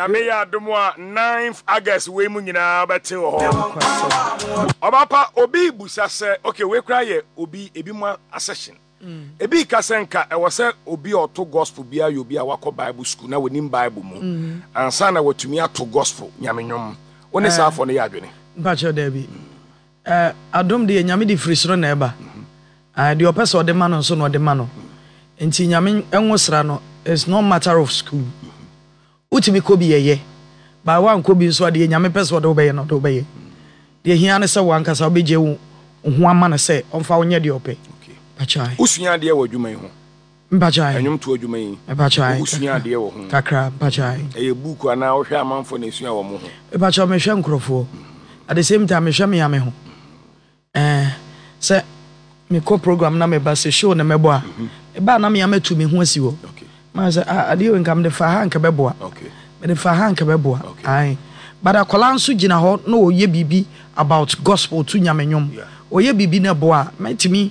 Nyame yɛ adom a 9th August wei mu nyinaa wobɛte wɔ hɔ. Ɔbapa obi busa sɛ okay wei koraa yɛ obi ebi mu asɛhyen. Ebi ka sɛ nka ɛwɔ sɛ obi a ɔto gospel biara yɛ obi a wakɔ Bible school na onim Bible mu ansa na watumi ato gospel, Nyame nnwom. Wo ne saa afɔ no yɛ adwene? Mpakyɛw daabi. Eh, adom deɛ Nyame de firi soro na ɛba. Ah, deɛ ɔpɛ sɛ ɔde ma no nso na ɔde ma no. Nti Nyame nwosra no, it's not matter of school. Wotumi kɔ bi ɛyɛ, but woankɔ bi nso a deɛ Nyame pɛ sɛ ɔde wo bɛyɛ no ɔde wo bɛyɛ. Deɛ ɛhia ne sɛ wo ankasa wobɛgye wo ho ama no sɛ ɔmfa wo nyɛ deɛ ɔpɛ. Mpakyɛw. Wosua adeɛ wɔ adwuma yi ho? Mpakyɛw. Ɛnwomtoɔ adwuma yi? Mpakyɛw. Wosua adeɛ wɔ ho? Kakra, mpakyɛw. Ɛyɛ book anaa wohwɛ amanfoɔ na esua wɔn ho? Mpakyɛw, mehwɛ nkorɔfoɔ. At the same time mehwɛ me ara me ho. Ɛɛ, sɛ mekɔ program na meba sɛ show na mɛbɔ a, meba a na me ara matu me ho asi hɔ. Maa sɛ, ah, adeɛ wei nka mede fa ha nka bɛboa. Mede fa ha nka bɛboa. Ae. But akwadaa nso gyina hɔ na ɔyɛ biribi about gospel to Nyame nnwom. Ɔyɛ biribi na ɛboa a, mɛtumi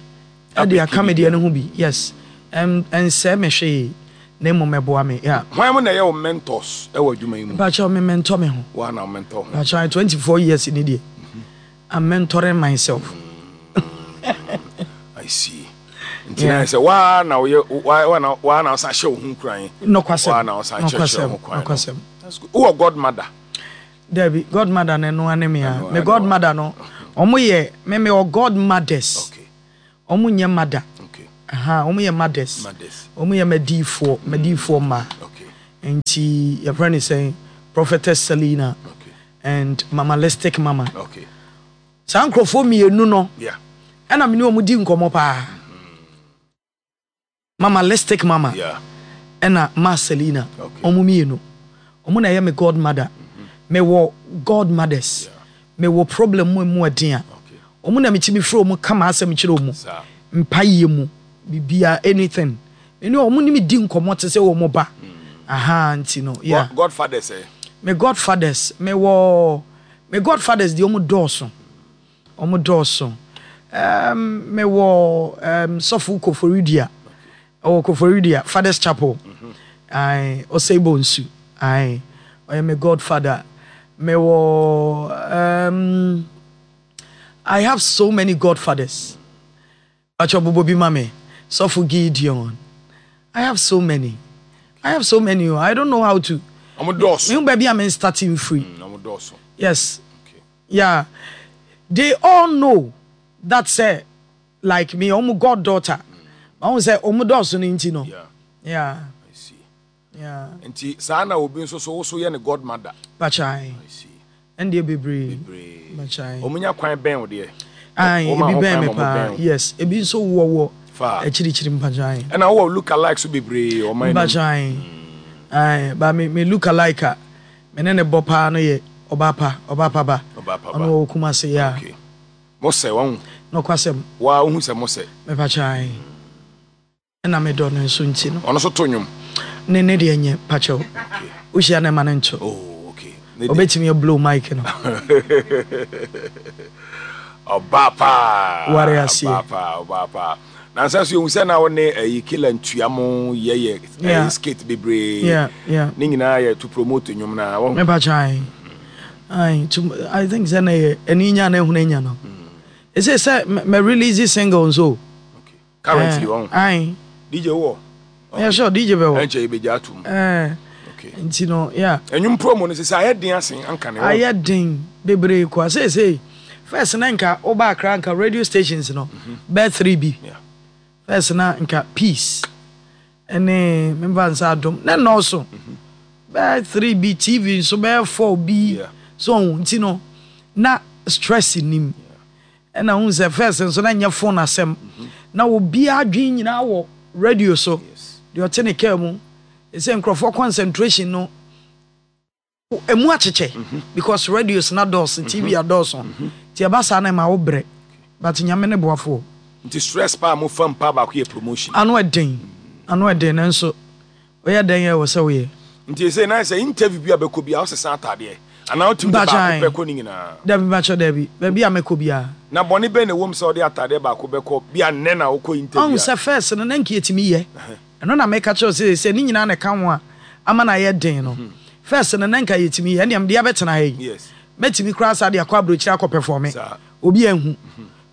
de aka me deɛ no ho bi. Yes. Ɛnsɛe me hwee na mmom ɛboa me. Yeah. Hwan mo na ɛyɛ wo mentors wɔ adwuma yi mu? Mpakyɛw, me mentor me ho. Woa na wo mentor ho? Mpakyɛw, 24 years ni deɛ. I'm mentoring myself. I see. Nti na sɛ waa na woyɛ waa na waa na ɔsan hyɛ wo ho nkuran. Nokwasɛm. Waa na ɔsan kyerɛkyerɛ ho kwan. Nokwasɛm. Wowɔ godmother? Dabi, godmother no ɛno ane me a. Me godmother no, ɔmo yɛ me me wɔ godmothers. Okay. Ɔmo nyɛ mother. Okay. Aha, ɔmo yɛ mothers. Mothers. Ɔmo yɛ madiifoɔ, madiifoɔ mmaa. Okay. Nti yɛfrɛ no sɛn? Prophetess Selina. Okay. And mamalistic mama. Okay. Saa nkurɔfoɔ mmienu no. Yeah. Ɛna me ne wɔn di nkɔmɔ paa. Mamalistic mama. Yeah. Ɛna ma Selina. Okay. Wɔn mmienu. Wɔn na ɛyɛ me godmother. Me wɔ godmothers. Yeah. Me wɔ problem mu emu ɛden a. Okay. Wɔn na metumi frɛ wɔn ka m'asɛm kyerɛ wɔn. Saa. Mpaeɛ mu, biribiara, anything. Me ne wɔn ne me di nkɔmɔ te sɛ wɔn ba. Ahaa nti no, yeah. Godfathers ɛ? Me godfathers, me wɔ, me godfathers deɛ wɔn dɔɔso. Wɔn dɔɔso. Um, me wɔ um, Sɔfo Koforidua. Ɛwɔ Koforidua, Fathers Chapel. Aye, Osei Bonsu. Aye, ɔyɛ me godfather. Me wɔ um, I have so many godfathers. Pacho bobɔ bi ma me. Sɔfo Gideon. I have so many. I have so many o. I don't know how to. Ɔmo dɔɔso. Mehu baabi a me starting free. Ɔmo dɔɔso. Yes. Okay. Yeah. They all know that sɛ like me ɔmo god daughter. Mahu sɛ ɔmo dɔɔso no nti no. Yeah. Yeah. I see. Yeah. Nti saa na obi nso so wo so yɛ ne godmother. Pakyɛ. I see. Ɛndeɛ bebree. Bebree. Pakyɛ. Ɔmo nya kwan bɛn wo deɛ? Ae, Wɔma ebi ho bɛn kwan me ma ɔmo paa. bɛn wo. Yes, ebi nso wɔ wɔ Fa. akyirikyiri mpakyɛ. Ɛna wowɔ look alike so bebree ɔman no mu. Mpakyɛ. Ae, but me me look alike a me ne ne bɔ paa no yɛ Ɔbaapa, Ɔbaapa ba. Ɔbaapa ba. Ɔno ɔwɔ Kumasi, yeah. Okay. Mo sɛ, wahu? Nokwasɛm. Waa wohu sɛ mo sɛ? Mepakyɛ ae. Ɛna me dɔ no nso nti no. Ɔno nso to nnwom? Ne ne deɛ nyɛ, pakyɛw. Okay. Wohyia no ma no nto. Oh, okay. Ne deɛ. Ɔbɛtumi a blow mic no. Ɔbaa paa. Ware aseɛ. Ɔbaa paa, ɔbaa paa. Nansa so yɛhu sɛ na wo ne ɛyi Killer Ntua mo yɛyɛ ɛyi skit bebree. Yeah, yeah. Ne nyinaa yɛ to promote nnwom na wɔn. Me pakyɛ ae. Ae, to, I think sɛ na yɛ ɛni nya na ehunu enya no. Ɛsɛ sɛ mɛ release single nso. Okay. Currently wɔn. Ae. DJ wɔ. Yeah, sure, DJ bɛ wɔ. Ɛnkyɛ yɛbɛgya atom. Eh. Okay. Nti no, yeah. Ɛnwom promo no sɛ sɛ ayɛ den asen anka ne. Ayɛ den bebree kwa. Seesei, first na nka woba Accra nka radio stations no bɛyɛ 3 bi. Yeah. First na nka Peace ɛne memfa nsa adom na nnɔɔso. Bɛyɛ 3 bi, TV nso bɛyɛ 4 bi. Yeah. So nti no, na stress nim. Ɛna wohu sɛ first nso na nyɛ phone asɛm. Na obiara adwene nyinaa wɔ radio so. Deɛ ɔte ne car mu. Ɛsɛ nkurɔfoɔ concentration no emu akyekyɛ because radios na dɔɔso, TV adɔɔso. Nti ɛba saa na ɛma wo brɛ. But Nyame ne boafoɔ. Nti stress paa mo fam paa baako yɛ promotion. Ano ɛden, ano ɛden nanso woyɛ dɛn a ɛwɔ sɛ woyɛ. Nti ɛsei na sɛ interview bi a bɛkɔ biara wosesa ataadeɛ anaa wotumi de baako pɛ kɔ ne nyinaa? Dabi mpakyɛ dabi, baabi a mɛkɔ biara. Na bɔne bɛn na ɛwom sɛ wode ataadeɛ baako bɛkɔ bi a nnɛ na wokɔ interview a? Ɔhu sɛ first no na nka yɛtumi yɛ, ɛno na meka kyerɛ wo sɛ seesei ne nyinaa na ɛka ho a ama no ayɛ den no. First no na nka yɛtumi yɛ, ɛnneɛ mede abɛtena ha yi. Mɛtumi koraa saa de akɔ aburokyire akɔ pɛfɔme. Obi anhu.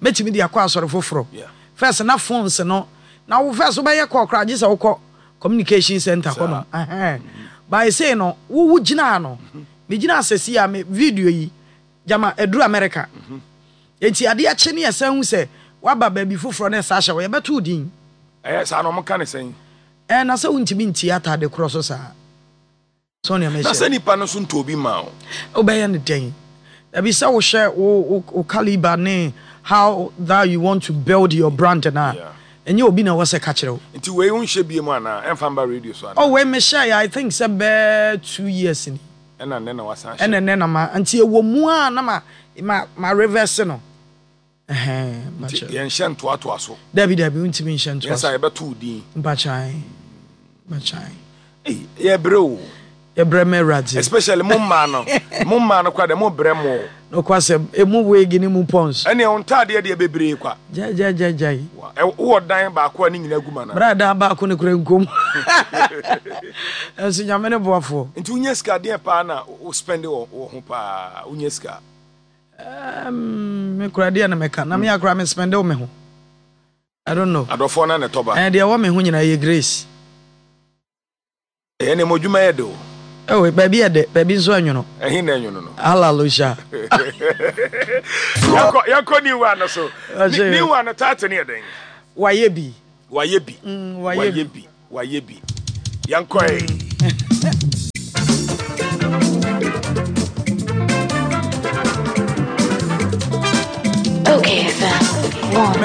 Mɛtumi de akɔ asɔre foforɔ. First na phones no, na wo first wobɛyɛ call koraa gye sɛ wokɔ communication center hɔ nom. Ɛhɛn. But ɛsei no, wo wo gyina ha no, me gyina ha sɛsi a me video yi, gyama aduru America. Enti adeɛ kye ne yɛsan hu sɛ woaba baabi foforɔ na ɛsa ahyɛ hɔ, yɛbɛto wo din. Ɛyɛ saa na wɔka no sɛn? Ɛɛ, na sɛ wontumi ntie atade korɔ so saa. So nea mehyɛ. Na sɛ nipa no nso ntɔɔ bi mmaa wo. Wobɛyɛ no dɛn? Dabi sɛ wohwɛ wo wo wo caliber ne how that you want to build your brand no a, ɛnyɛ obi na ɛwɔ sɛ ka kyerɛ wo. Nti wei wonhyɛ biom anaa? Ɛmfa mba radio so anaa? Oh wei mehyɛeɛ I think sɛ bɛɛ 2 years ni. Ɛna nnɛ na wasan ahyɛ. Ɛna nnɛ na ma nti ɛwɔ mu a na ma ma ma reverse no. Ɛhɛn, Nti mpakyɛ. yɛnhyɛ ntoatoa so. Dabi dabi wontumi nhyɛ ntoa Yɛ saa so. yɛbɛto wo din. Mpakyɛ ae, mpakyɛ ae. Ei, yɛbrɛ o. Yɛbrɛ ma Awurade. Especially mo mmaa no. Mo mmaa no koraa deɛ mo brɛ mo. Nokwasɛm, emu wig ne mu pons. Ɛneɛ wo ntaadeɛ deɛ bebree kwa. Gyae gyae gyae gyae. Wa, ɛ, wowɔ dan baako a ne nyinaa gu mu anaa? Bra dan baako no koraa nkom. Nanso Nyame ne boafoɔ. Nti wonya sika deɛn paa na wo spend wɔ wo ho paa? Wonya sika? Um, me koraa deɛ na mɛka. Na me akora me spend wo me ho. I don't know. Adɔfoɔ na na ɛtɔ ba. Eh, deɛ ɛwɔ me ho nyinaa yɛ grace. Ɛyɛ ne mo adwuma yɛ de o. Oh, baabi yɛ dɛ, baabi nso ɛnwono. Ɛhe na ɛnwono no? Hallelujah. Yɛnkɔ yɛnkɔ new one no so. New one no title no yɛ dɛn? Wayɛ bi. Wayɛ bi. Wayɛ bi. Wayɛ bi. Yɛnkɔ ɛ. Okay, FM. One.